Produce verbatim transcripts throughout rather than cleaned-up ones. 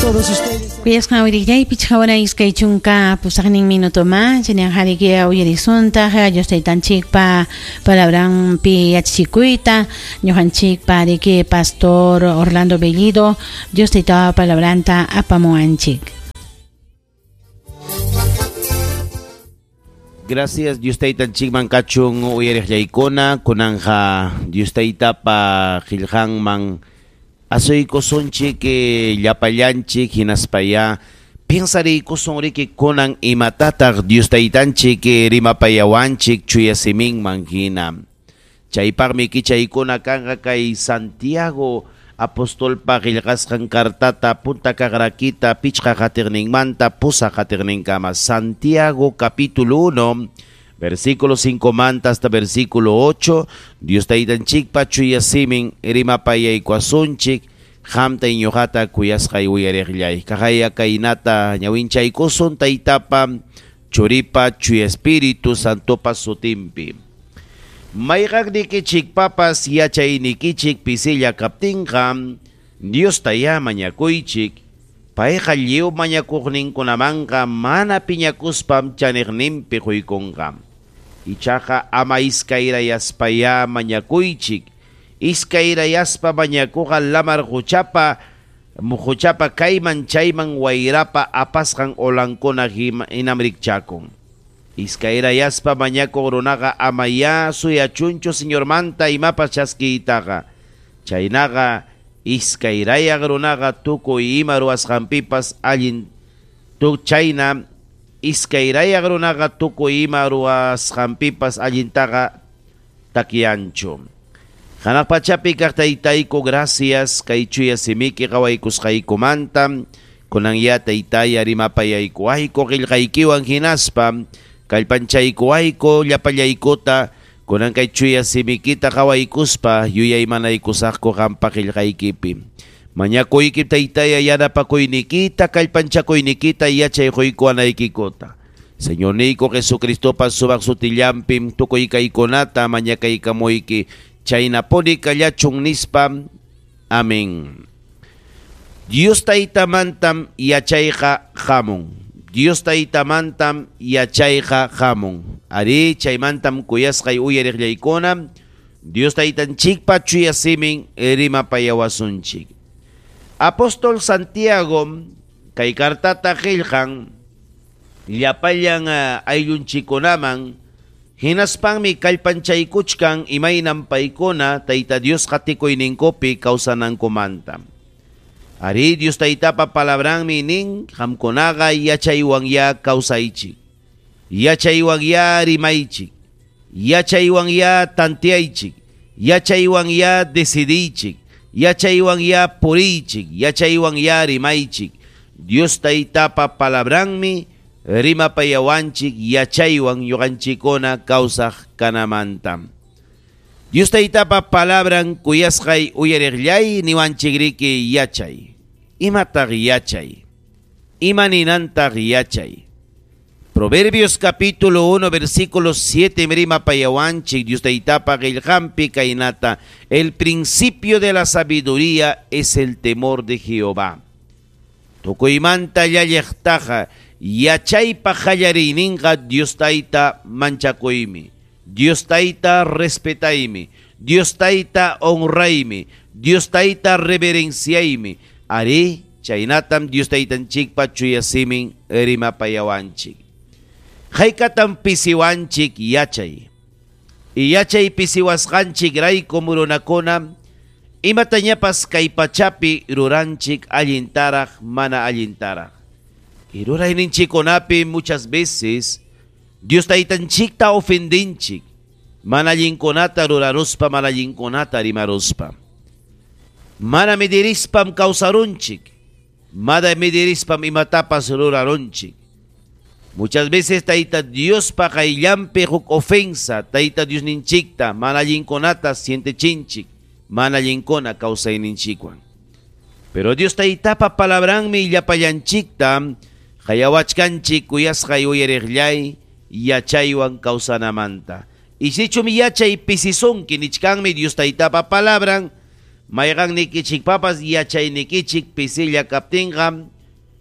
Todos ustedes. Kuyasqa uyariqllay pichqa hora iskay chunka pusaqnin minuto más chaynaqa uyarisuntaq Dios taytanchikpa palabranpi yachachikuyta ñuqanchikpa riki pastor Orlando Bellido Dios taytapa palabranta apamuwanchik. Gracias Dios taytanchikman kachun uyariqllaykuna kunanja Dios taytapa qillqanman asuykusunchik llapallanchik hinaspaya piensariykusun riki kunan imatataq Dios taytanchik rimapayawanchik chuya siminman hina. Chaypaqmi kichaykuna kanqa kay Santiago apostolpa qillqasqan kartata punta kaqrakita pichqa qatiqninmanta pusaq qatiqninkama. Santiago capítulo uno versículo cinco manta hasta versículo ocho, Dios taytanchikpa chuya simin rimapayaykuasunchik qamta ñuqata kuyasqay uyariqllay. Kaqaya kaynata ñawinchaykusun taytapa churipa chuya espíritu santopa sutinpi. Mayqaqnikichikpapas yachaynikichik pisilla kaptinqa Dios taya mañakuychik. Payqa lliw mañakuqninkunamanqa mana piñakuspam chaniqninpi quykunqa. Ichaqa ama iskayrayaspaya mañakuychik. Iskayrayaspa mañakuqa lamar quchapa muquchapa kayman chayman wayrapa apasqan olankuna hinam rikchakun. Iskayrayaspa mañakuq runaqa amaya suyachunchu Señormanta imapas chaskiytaqa. Chaynaqa iskayrayaq runaqa tukuy ima ruwasqanpipas allin tu chayna iskayrayaq runaqa tukuy ima ruwasqanpipas allintaqa takyanchu. Hanaq pachapi kaq taytayku gracias kay chuya simiki qawaykusqaykumanta kunan ya taytaya rimapayaykuwayku qillqaykiwan hinaspa kallpanchaykuwayku llapallaykuta kunan kay chuya simikita qawaykuspa yuyaymanaykusaqku qampa qillqaykipi. Mañakuyki taytaya yanapakuynikita kallpanchakuynikita yachay quykuwanaykikuta. Señorniyku Jesucristopa sumaq sutillanpim tukuy kaykunata mañakaykamuyki chaynapuni kallachun nispa. Amén. Dios taytamantam yachayqa hamun. Dios taytamantam yachayqa hamun. Ari chaymantam kuyasqay uyariqllaykuna Dios taytanchikpa chuya simin rimapayawasunchik. Apóstol Santiago kay kartata qillqan llapallan ayllunchikunaman hinaspanmi kallpanchaykuchkan imaynam paykuna Tayta Dios qatikuyninkupi kawsanankumanta. Ari Dios taytapa palabranmi nin qamkunaqa yachaywan ya kawsaychik, yachaywan ya rimaychik, yachaywan ya tanteaychik, yachaywan ya decidiychik, yachaywan ya puriychik, yachaywan ya rimaychik. Dios taytapa palabranmi rimapayawanchik yachaywan ñuqanchikkuna kawsaq kanamanta. Dios taytapa palabran kuyasqay uyariqllay niwanchikriki yachay. Imataq yachay? Ima ninantaq yachay? Proverbios capítulo uno versículo siete rimapayawanchik Dios taytapa qillqanpi kaynata: el principio de la sabiduría es el temor de Jehová. Tukuymanta llalliqtaqa yachaypa qallariyninqa Dios tayta manchakuymi, Dios tayta respetaymi, Dios tayta honraymi, Dios tayta reverenciaymi. Ari chaynatam Dios taytanchikpa chuya simin rimapayawanchik. Haykatam pisiwanchik yachay. Y yachay pisiwasqanchik rayku murunakuna imatañapas kay pachapi ruranchik allintaraq mana allintaraq. Y rurayninchikkunapi muchas veces Dios taytanchikta ofendinchik mana allinkunata ruraruspa mana allinkunata rimaruspa. Mana midirispam kawsarunchik, mana midirispam imatapas rurarunchik. Muchas veces Tayta Diospa qayllanpi huk ofensa Tayta Diosninchikta mana allinkunata sientechinchik, mana allinkuna kawsayninchikwan. Pero Dios taytapa palabranmi llapallanchikta qayawachkanchik kuyasqay uyariqllay yachaywan kawsanamanta. Y sichum yachay pisisunki nichkanmi Dios taytapa palabran Mayqannikichikpapas yachaynikichik pisilla kaptinqa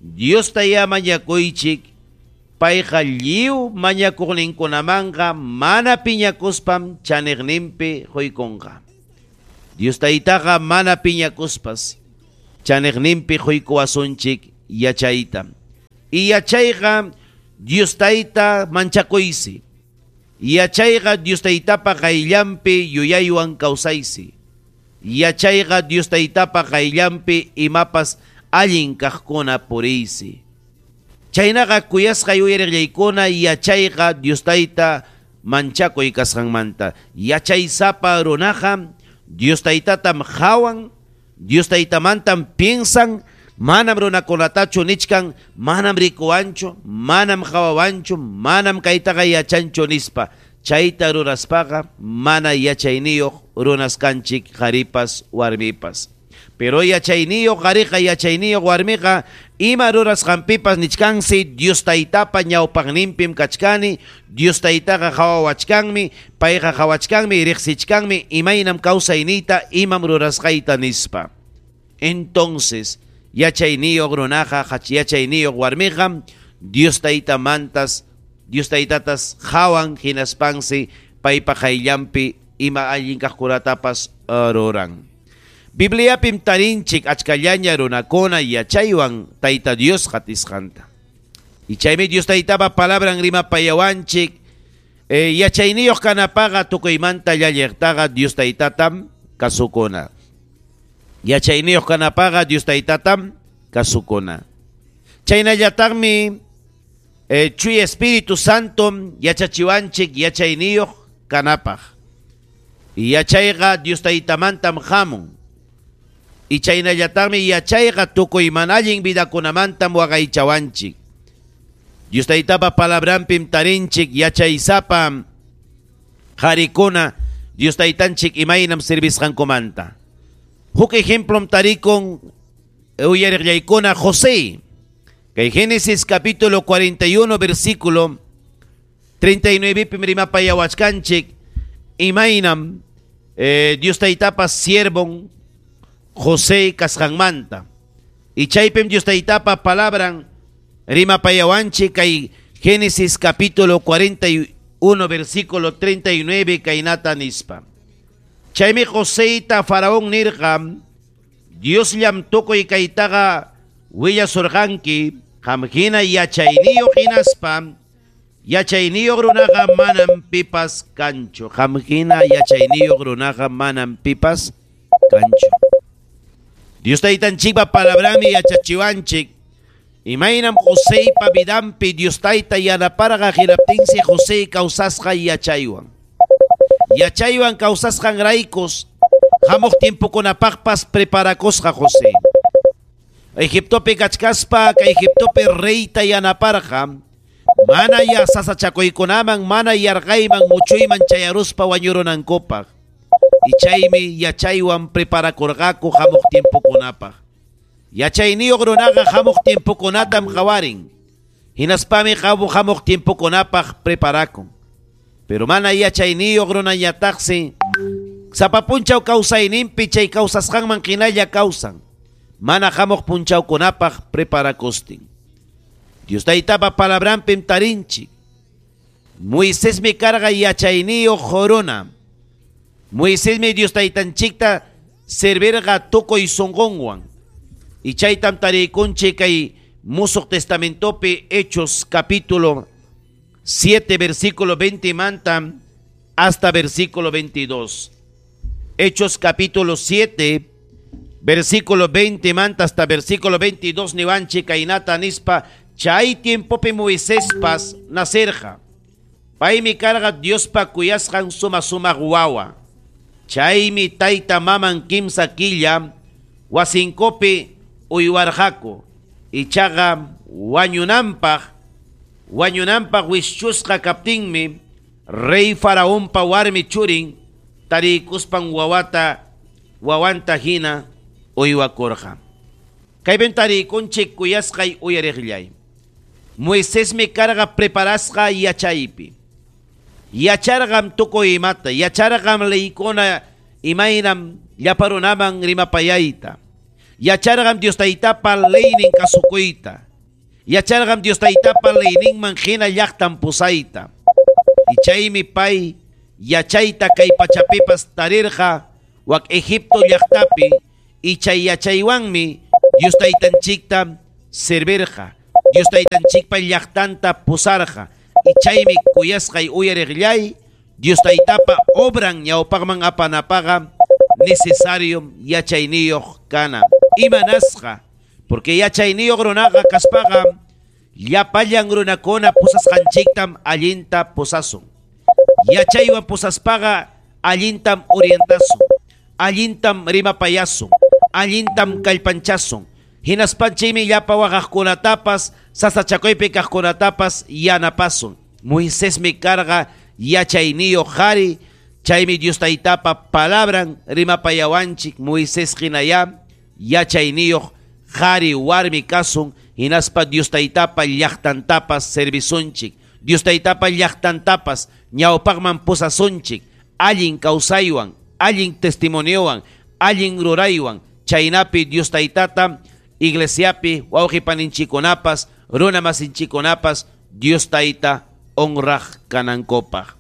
Diosta ya mañakuychik, payqa lliw mañakuqninkunamanqa mana piñakuspam chaniqninpi quykunqa. Dios taytaqa mana piñakuspas chaniqninpi quykuwasunchik yachayta. Y yachayqa Dios tayta manchakuysi. Yachayqa Dios taytapa qayllanpi yuyaywan kawsaysi. Yachayqa Dios taytapa qayllanpi imapas allin kaqkuna puriysi. Chaynaqa kuyasqa yuyariqllaykuna yachayqa Dios tayta manchakuy kasqanmanta. Yachaysapa runaqa Dios taytatam hawan, Dios taytamantam piensan, manam runakunatachu nichkan, manam rikuwanchu, manam hawawanchu, manam kaytaqa yachanchu nispa. Chayta ruraspaqa mana yachayniyuq runas kanchik qharipas warmipas. Pero yachayniyuq qhariqa yachayniyuq warmiqa ima rurasqanpipas nichkansi Dios taytapa ñawpaqninpim kachkani, Dios taytaqa hawawachkanmi, payqa hawachkanmi, riqsichkanmi imaynam kawsayniyta imam rurasqayta nispa. Entonces yachayniyuq runaqa yachayniyuq warmiqa Dios taytamantas Dios taytatas hawan hinaspansi paypa qayllanpi ima allin kaqkunatapas ruran. Bibliapim tarinchik achkallaña runakuna yachaywan Tayta Dios qatisqanta. Y chaymi Dios taytapa palabran rimapayawanchik eh, yachayniyuq kanapaqa tukuymanta llalliqtaqa Dios taytatam kasukuna. Yachayniyuq kanapaqa Dios taytatam kasukuna. Chaynallataqmi eh, Chuy Espíritu Santo yachachiwanchik yachayniyuq kanapaq. Y yachayqa Dios taytamantam hamun. Y chaynallataqmi yachayqa tukuy mana allin vidakunamantam waqaychawanchik. Dios taytapa palabranpim tarinchik yachaysapa qarikuna Dios taytanchik imaynam servisqankumanta. Huk ejemplom tarikun uyariqllaykuna José. Kay Génesis capítulo cuarenta y uno versículo treinta y nueve pim rimapayawachkanchik imaynam eh, Dios taytapa siervon José kasqanmanta. Y chaypim Dios taytapa palabran rimapayawanchik kay Génesis capítulo cuarenta y uno versículo treinta y nueve kaynata nispa. Chaymi Joséta Faraón nirqa Dios llam tukuy kaytaqa willasurqanki qam hina yachayniyuq hinaspa yachayniyuq runaqa manam pipas kanchu. Qam hina yachayniyuq runaqa manam pipas kanchu. Dios taytanchikpa palabrami yachachiwanchik imaynam Joseypa vidanpi Dios tayta yanaparqa hinaptinsi José kawsasqa yachaywan. Yachaywan kawsasqanraykus hamuq tiempokunapaqpas preparakusqa José. Egiptopi kachkaspa kay Egiptopi reyta yanaparqa mana ya sasachakuykunaman mana yarqayman muchuyman chayaruspa wañurunankupaq. Y chaymi yachaywan preparakurqaku hamuq tiempokunapaq. Yachayniyuq runaqa hamuq tiempokunatam qawarin. Hinaspami hamuq tiempokunapaq preparakun. Pero mana yachayniyuq runañataqsi sapa punchaw kawsayninpi chay kawsasqanman hinalla kawsan. Mana hamuq punchawkunapaq preparakustin. Dios taytapa palabranpim tarinchik. Moisésmi karqa yachayniyuq runa. Moisésmi Dios taytanchikta servirqa tukuy sunqunwan. Y chaytam tarikunchik kay Musuq Testamentopi Hechos capítulo siete versículo veinte manta hasta versículo veintidós. Hechos capítulo siete versículo veinte manta hasta versículo veintidós niwanchik kaynata nispa chay tiempopi Moiséspas nacerqa. Paymi karqa Diospa kuyasqan suma sumaq wawa. Chaymi tayta maman kimsa killa wasinkupi uywarqaku. Ichaqa wañunanpaq wañunanpaq wishchusqa kaptinmi rey Faraonpa warmi churin tarikuspan wawata wawanta hina uywakurqa. Kaypim tarikunchik kuyasqay uyariqllay. Moisésmi karqa preparasqa yachaypi. Yacharqam tukuy imata, yacharqam leykuna imaynam llapa runaman rimapayayta. Yacharqam Dios Taytapa leynin kasukuyta. Yacharqam Dios Taytapa leyninman hina llaqtan pusayta. Y chaymi pay yachayta kay pachapipas tarirqa wak Egipto llaqtapi y chay yachaywanmi Dios Taytanchikta servirqa. Dios Taytanchikpa llaqtanta pusarqa. Y chaymi kuyasqay uyariqllay Dios Taytapa obran ñawpaqman apanapaqa necesario yachayniyuq kana. Imanasqa, porque yachayniyuq runaqa kaspaqa llapallan runakuna pusasqanchiktam allinta pusasun. Yachaywan pusaspaqa allintam orientasun, allintam rimapayasun, allintam kallpanchasun. Hinaspanchikmi llapa waqaqkunatapas, sasachakuypi kaqkunatapas yanapasun. Moisesmi karqa yachayniyuq qhari, chaymi Dios Taytapa palabran rimapayawanchik Moisés hinayá yachayniyuq qhari warmi kasun, hinaspa Dios Taytapa llaqtantapas servisunchik. Dios Taytapa llaqtantapas ñawpaqman pusasunchik, allin kawsaywan, allin testimoniowan, allin ruraywan, chaynapi Dios Taytata iglesiapi wawqipaninchikkunapas, runa masinchikkunapas Dios Tayta honraq kanankupaq.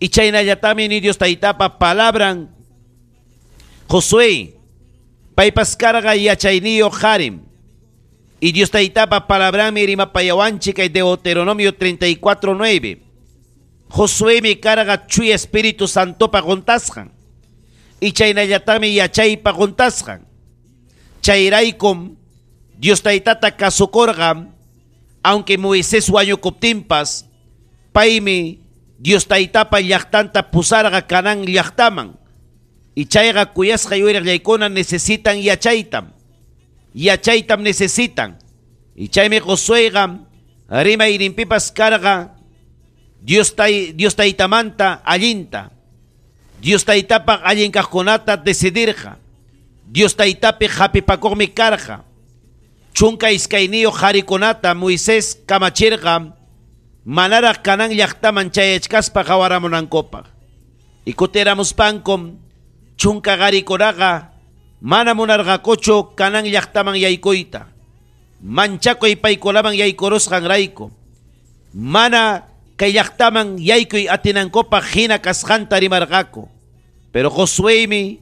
Y chaynallatami ni Dios Taytapa palabran Josué paypas karqa yachayniyuq qarim. Y Dios Taytapa palabranmi rimapayawanchik kay Deuteronomio treinta y cuatro nueve. Josuémi karqa Chuya Espíritu Santopa quntasqan. Y chaynallatami yachaypa quntasqan. Chayraykum Dios Taytata kasukurqa, aunque Moisés wañukuptinpas, paymi Dios Taytapa llaqtanta pusarqa Canaán llaqtaman. Y chayqa kuyasqa yuyariqllaykuna necesitan yachaytam. Yachaytam necesitan. Y chaymi Josuéqa rimayninpipas karqa Dios tay, Dios Taytamanta allinta. Dios Taytapaq allin kaqkunata decidirqa. Dios Taytapi hapipakuqmi karqa. Chunka iskayniyuq qharikunata Moisés kamachirqa manaraq Canaán llaqtaman chayachkaspa qhawaramunankupaq. Y kutiramuspankum chunka qarikunaqa mana munarqakuchu Canaán llaqtaman yaykuyta. Manchakuy paykunaman yaykurusqanrayku. Mana kay llaqtaman yaykuy atinankupaq hina kasqanta rimarqaku. Pero Josuémi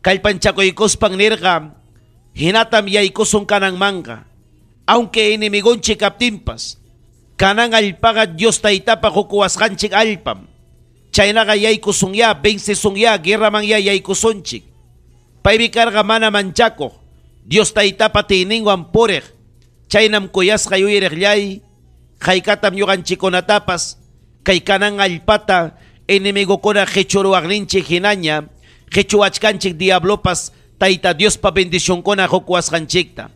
kallpanchakuykuspan nirqa hinatam yaykusun Canaanmanqa. Aunque enemigonchik kaptinpas, Canaán allpaqa Dios Taytapa qukuwasqanchik allpam. Chaynaqa yaykusunya, vencesunya, guerraman ya yaykusunchik. Paymi karqa mana manchakuq, Dios Taytapa tiyninwan puriq. Chaynam kuyasqa yuyariqllay, haykatam ñuqanchikkunatapas kay Canaán allpata enemigokuna qichuruwaqninchik hinaña, qichuwachkanchik diablopas Tayta Diospa bendicionkuna qukuwasqanchikta.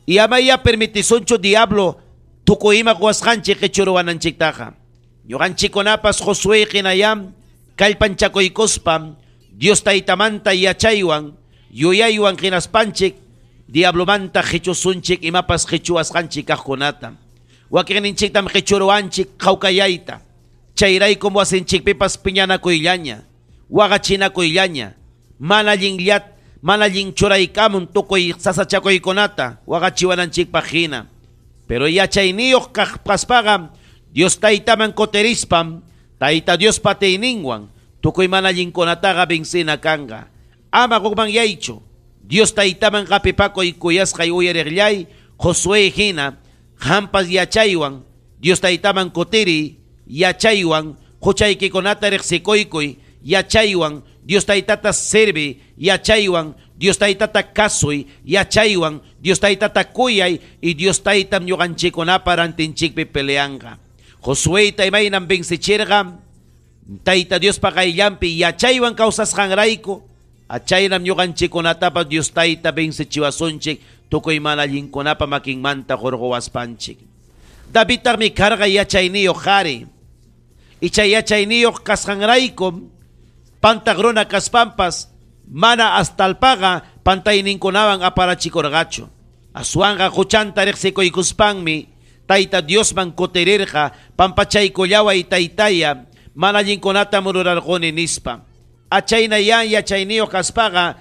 Y amaya permitisunchu diablo tukuy ima quwasqanchik qichuruwananchiktaqa. Ñuqanchikkunapas Josué hinayam kallpanchakuykuspa Dios Taytamanta yachaywan, yuyaywan hinaspanchik diablomanta qichusunchik imapas qichuwasqanchik kaqkunata. Wakinninchiktam qichuruwanchik qhawkayayta. Chayraykum wasinchikpipas piñanakuyllaña, waqachinakuyllaña, mana allinllat, mana allin churaykamun tukuy sasachakuykunata waqachiwananchikpaq hina. Pero yachayniyuq kaspaqa Dios Taytaman kutirispam, Tayta Diospa atiyninwan tukuy mana allinkunataqa vencina kanqa. Ama hukmanyaychu, Dios Taytaman qapipakuy kuyasqay uyariqllay Josué hina qampas yachaywan Dios Taytaman kutiriy yachaywan huchaykikunata riqsikuykuy yachaywan Dios Taytata servi yachaywan Dios Taytata kasuy yachaywan Dios Taytata kuyay y Dios Taytam ñuqanchikkunapa rantinchikpi peleanqa. Josué imaynam vencichirqa Tayta Diospa qayllanpi yachaywan kawsasqanrayku, achaynam ñuqanchikkunatapas Dios Tayta vencichiwasunchik tukuy mana allinkunapa makinmanta hurquwaspanchik. Davidtaqmi karqa yachayniyuq qhari. Y chay yachayniyuq kasqanrayku pantaq runa kaspanpas mana astalpaqa pantayninkunawan aparachikurqachu. Aswanqa huchanta riqsikuykuspanmi Tayta Diosman kutirirqa pampachaykullaway taytaya mana allinkunata mururarquni nispa. Achayna yan yachayniyuq kaspaqa